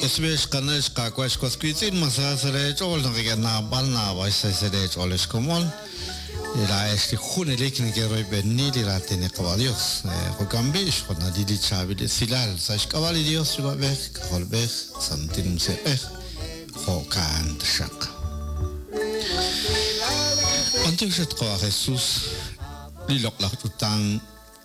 Us b'i' ex qana' ex qaawa' ex was wiitz'in, ma sa sa' leech'ool naq ink'a' naab'al naab'al xsahil sa' leech'ool ex komon? Laa'ex li junelik nekeroyb'eni li raatin li Qawa' Dios. Jo'kan b'i' xjunalil li chaab'il esilal sa' xk'ab'a' li Dios Yuwa'b'ej, K'ajolb'ej, Santil Musiq'ej, jo'kan taxaq. B'antiox at Qawa' Jesus, li loq'laj ch'utam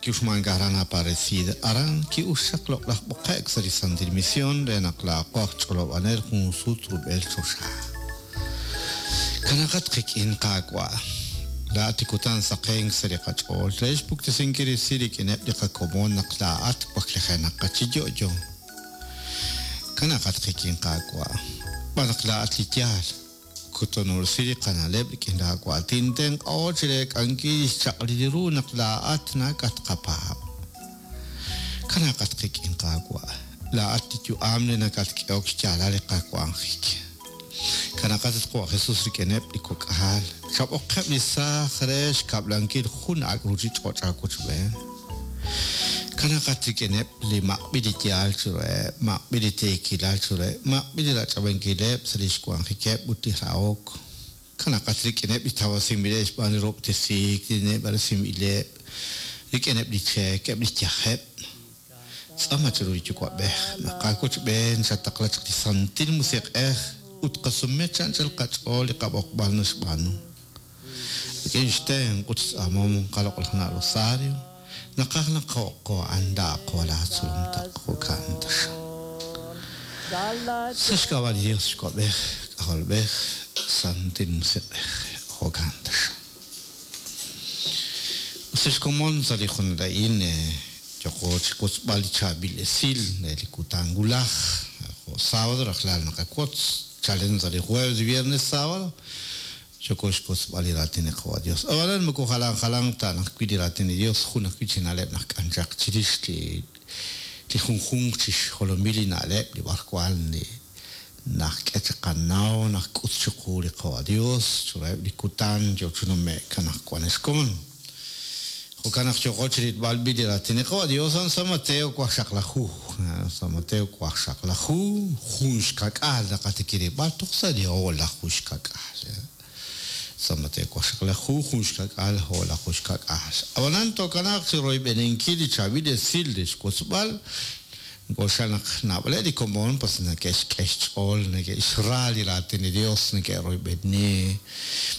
ki'uxmank aran Aparecida, aran ki'uxaq loq'laj b'oqe'k sa' li Santil Misión re naq laa'aqo aj ch'olob'anel jun sut rub'el choxa. Kanaqat qik'in, Qaawa', laa'at li kutan saqenk sa' li qach'ool re xpuktesinkil resil rik'ineb' li qakomon naq laa'at waklijenaqat chi yo'yo. Kanaqat qik'in, Qaawa', xb'aan naq laa'at li yaal. Kutanob'resi li qana'leb' rik'in laawaatin, tenq'aho chi reek'ankil li xchaq'alil ru naq laa'at nakatqapaab'. Kanaqat qik'in, Qaawa', laa'at li yu'am li nakatk'ehok xyaalal li qawanjik. Kanaqat at Qawa' Jesus rik'ineb' li kok'al, chab'oqeb' li saaj re xkab'lankil jun ak' ruuchich'och' aawochb'een. Kanaqat rik'ineb' li maq'b'il li yaal chiruheb', maq'b'il li tiikilal chiruheb', maq'b'il li rach'ab'ankileb' sa' li xwanjikeb' ut li rahok. Kanaqat rik'ineb' li tawasinb'ileb' xb'aan li rob'tesiik, li neb'aresinb'ileb', rik'ineb' li cheek, eb' li yajeb'. Tz'aama chiru li Yuwa'b'ej naq aawochb'een xataqla chaq li Santil Musiq'ej ut qasume chi anchal qach'ool li qab'oqb'al naxb'aanu. Rik'in xtenq' ut xtz'aamom qaloq'laj na' Rosario, naqaj naq jo'qo a'an laa'aqo laatzolom taq jo'kan taxaq. Sa' xk'ab'a' li Dios Yuwa'b'ej, K'ajolb'ej, Santil Musiq'ej, jo'kan taxaq. Us ex komon sa' li junal a'in yooko chi wotzb'al li chaab'il esil re li kutan wulaj, jo' sábado rajlal naqawotz, chalen sa' li jueves, viernes, sábado, Yooko xwotzb'al li raatin li Qawa' Dios. Ab'anan moko jalan jalanq ta naq wi' li raatin li Dios, jun ajwi' chi na'leb' naq k'anchaq chirix li li junjunq chi xjolomil li na'leb' li b'arwan li najk'e chi qanaw, najk'ut chiqu li Qawa' Dios chiruheb' li kutan yoo chi nume'k anaqwan ex komon. Jo'kan naq yooqo chi rilb'al b'i' li raatin li Qawa' Dios a'an San Mateo waqxaqlaju. San Mateo waqxaqlaju, jun xkak'aal naqatikirib'al toj sa' li o'laju xkak'aal. San Mateo waqxaqlaju, jun xkak'aal, o'laju xkak'aal. Ab'anan tookanaaq chi royb'eninkil li chaab'il esil re xwotzb'al Nk'oxla naq naab'aleb' li komon pues neke'xk'e xch'ool, neke'xra li raatin li Dios, neke'royb'eni.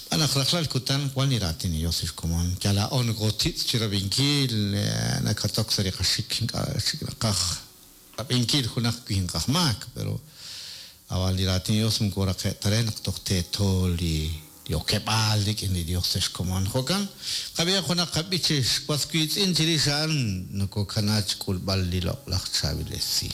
Xb'aan naq rajlal kutan wan li raatin li Dios lix komon. Yal laa'o nokotitz' chirab'inkil, nakatok sa' li qaxik, ink'a' chik naqaj rab'inkil junaq winq aj maak, pero ab'an li raatin li Dios moko raqe' ta re naq toj teeto li Li okeb'aal rik'in li Dios ex komon. Jo'kan, qab'ihaq junaq qab'ich chi xwas wiitz'in chirix a'an nokokana chi k'ulb'al li loq'laj chaab'il esil.